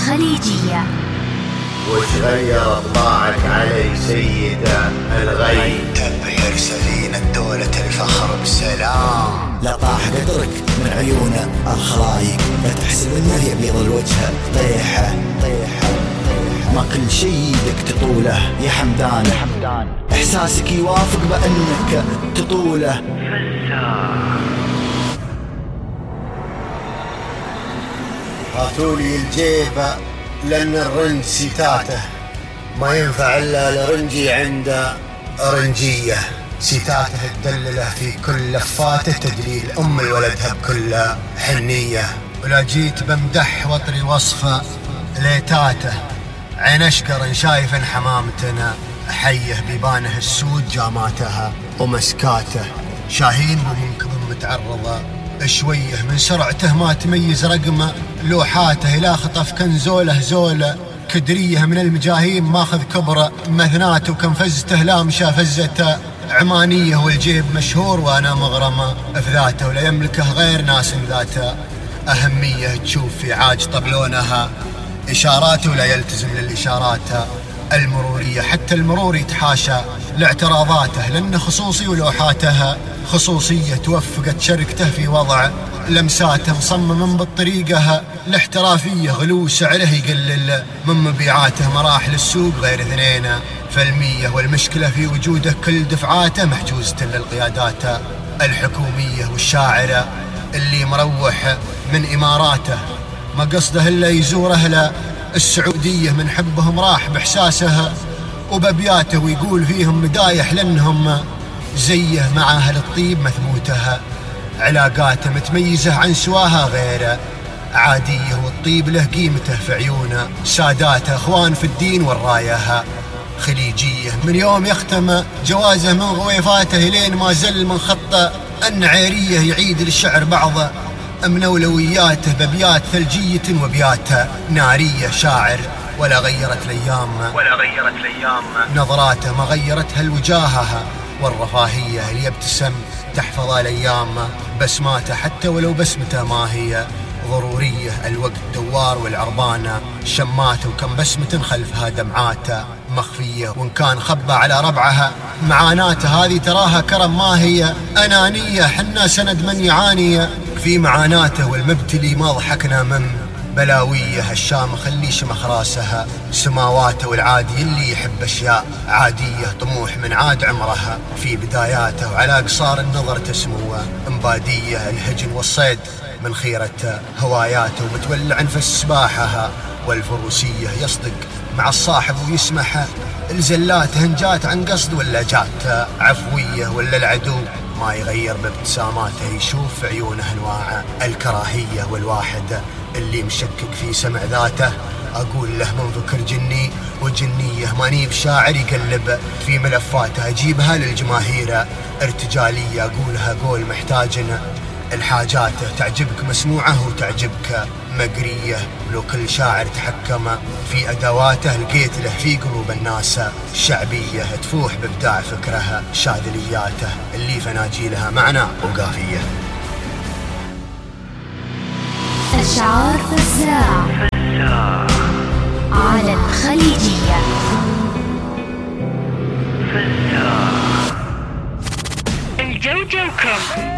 الخليجية. وش غير طباعك علي سيدة الغي؟ تبهر سفينة دولة الفخر بالسلام. لا طاح قدرك من عيونه الخلايق، لا تحسب انه يبيض الوجه طيحه طيحه طيحه. ما كل شي يدك تطوله يا حمدان، احساسك يوافق بانك تطوله. هاتولي الجيبة لأن الرنج ستاته ما ينفع إلا لرنجي عند رنجية. ستاته تدلله في كل لفاته تدليل أم ولدها بكل حنية. ولا جيت بمدح وطري وصفه ليتاته، عين أشقر شايف حمامتنا حيه بيبانه السود جاماتها ومسكاته. شاهين ومنكب متعرضة شويه من سرعته ما تميز رقمه لوحاته. إلى خطف كنزوله زوله كدريه من المجاهيم ماخذ كبره مثناته. وكنفزته لامشة فزته عمانية والجيب مشهور وأنا مغرمة في ذاته. ولا يملكه غير ناس ذاته أهمية. تشوف في عاج طبلونها إشاراته ولا يلتزم للإشارات المرورية. حتى المرور يتحاشى لاعتراضاته لأن خصوصي ولوحاتها خصوصية. توفقت شركته في وضع لمساته مصمم بالطريقة الاحترافية. غلو سعره يقلل من مبيعاته مراحل السوق غير 2%. والمشكلة في وجوده كل دفعاته محجوزة للقيادات الحكومية. والشاعر اللي مروح من إماراته ما قصده إلا يزور أهل السعودية من حبهم راح بإحساسه وببياته. ويقول فيهم مدايح لأنهم زيه مع أهل الطيب مثبوته. علاقاته متميزة عن سواها غير عادية. والطيب له قيمته في عيونه ساداته. أخوان في الدين والراية خليجية. من يوم يختم جوازه من غويفاته لين ما زل من خطه النعيرية. يعيد للشعر بعض من أولوياته ببيات ثلجية وبيات نارية. شاعر ولا غيرت الأيام نظراته ما غيرتها الوجاهة والرفاهية. اللي يبتسم تحفظ الأيام بسماته حتى ولو بسمته ما هي ضرورية. الوقت دوار والعربانة شماته وكم بسمة خلفها دمعاته مخفية. وإن كان خبى على ربعها معاناته هذه تراها كرم ما هي أنانية. حنا سند من يعاني في معاناته والمبتلي ما ضحكنا من بلاويه. الشام خلي شمخ راسها سماواته. والعادي اللي يحب أشياء عادية طموح من عاد عمرها في بداياته. وعلى قصار النظر تسمو امبادية. الهجن والصيد من خيرة هواياته. ومتولع في السباحة والفروسية. يصدق مع الصاحب ويسمح الزلات هنجات عن قصد ولا جات عفوية. ولا العدو ما يغير بابتساماته يشوف في عيونه انواع الكراهية. والواحد اللي مشكك في سمع ذاته اقول له من فكر جني وجنية. ماني بشاعر يقلب في ملفاته اجيبها للجماهير ارتجالية. اقولها قول محتاجنا الحاجاته تعجبك مسموعه وتعجبك مقرية. ولو كل شاعر تحكم في أدواته لقيت له في قلوب الناس شعبية تفوح بإبداع فكرها شاذلياته اللي فناجيلها معنى وقافية. أشعار فزاع على الخليجية. الجوجو كم